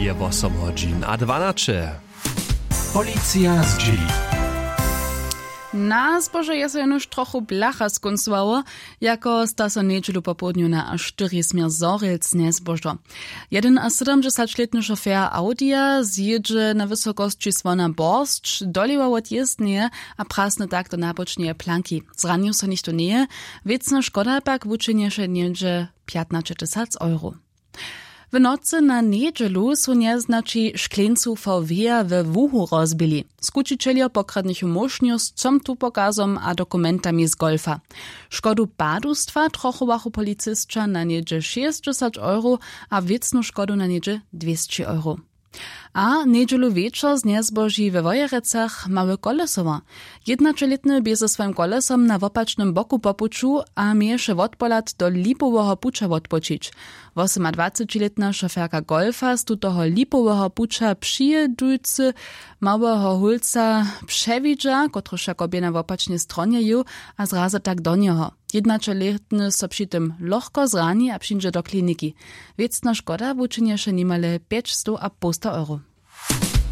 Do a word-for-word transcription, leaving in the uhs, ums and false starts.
Je wosom hodźin a dwanaće. Policija zdźěli. Na zbožo je so jenož trochu blacha skóncowało, jako sta so njedźelu popołdnju na a štyri směr zhorjelc njezbožo. Jedynasydomdźesaćlětny šofer audija zjědźe na wysokosći słona borsć, dolewa wot jězbneje a prasny tak do nabočneje planki. Zranił so něchtó njeje. Wěcna škoda pak wučinješe něhdźe pjatnaćetysac euro. W nocy na njedźelu su njeznaći škleńcu vw we łuhu rozbili. Skućićeljo pokradnych móšnju z comtupokazom a dokumentami z golfa. Škodu padustwa trochowachu policisća na něhdźe šěsćdźesać euro a wěcnu škodu na něhdźe dwěsći euro. A njedźelu wječor znjezboži we wojerecach mały kolesowa. Jědnaćelětny bě ze swojim kolesom na wopačnym boku po puću a měješe wotpohlad do lipoweho puća wotpočić. Wosomadwacećilětna šoferka golfa z tutoho lipoweho puća přijědujcy małyho hólca přewidźa, kotryž jako bě na wopačnej stronje jěł, a zrazy tak do njeho. Jědnaćelětny so při tym lochko zrani a přińdźe do kliniki. Wěcna škoda wučinješe nimale pjećstow a połsta euro.